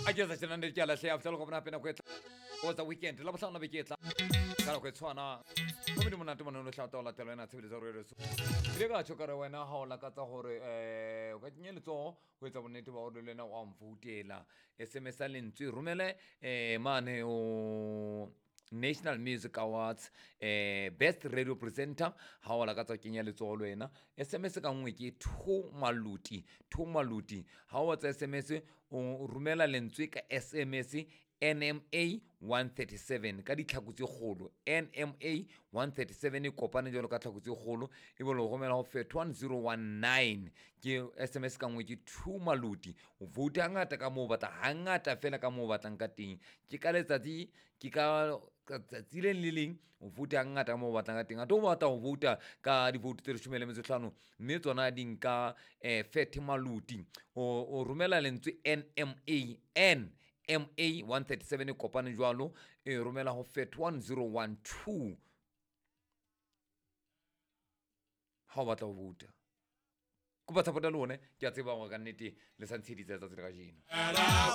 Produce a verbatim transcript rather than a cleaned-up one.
A ke sa tjena ke a lahleha fihla le kopana hape nako e tla was the weekend la bohlano beke e tla ka nako e tshwana. Gomme di monate mone o hlata o latela wena tshebeletso ya radio. Ile ka tjho ka re wena ha o lakatsa hore eh o ka kenya letsoho ho etsa bonnete ba hore le wena o a mvoutela. S M S ya lentswe romele eh mane o National Music Awards eh Best Radio Presenter ha o lakatsa ho kenya letsoho le wena. S M S ka nngwe ke two maluti, two maluti. Ha o etsa S M S o romela lentswe ka S M S N M A one thirty-seven ka ditlhaku tse kgolo. N M A one thirty-seven e kopane jwalo ka tlhaku tse kgolo, e be le romela ho fet one zero one nine. Ke S M S ka nngwe ke two maluti. O vote hangata ka moo o batla, hangata fela ka moo o batlang ka teng. Ke ka letsatsi, ke ka tsatsi le leng le leng o vote hangata ka moo o batlang ka teng. Ate o batla ho vouta ka divote tse leshome le metso e hlano, mme tsona di nka, eh, thirty maluti. O, o romela lentswe N M A, N M A one thirty-seven e kopane jwalo, e romela ho fet one zero one two. Ha o batla ho vouta. Kopa tshepo ya lona, ke a tseba hore ka nnete le sa ntsheditse letsatsi la kajeno.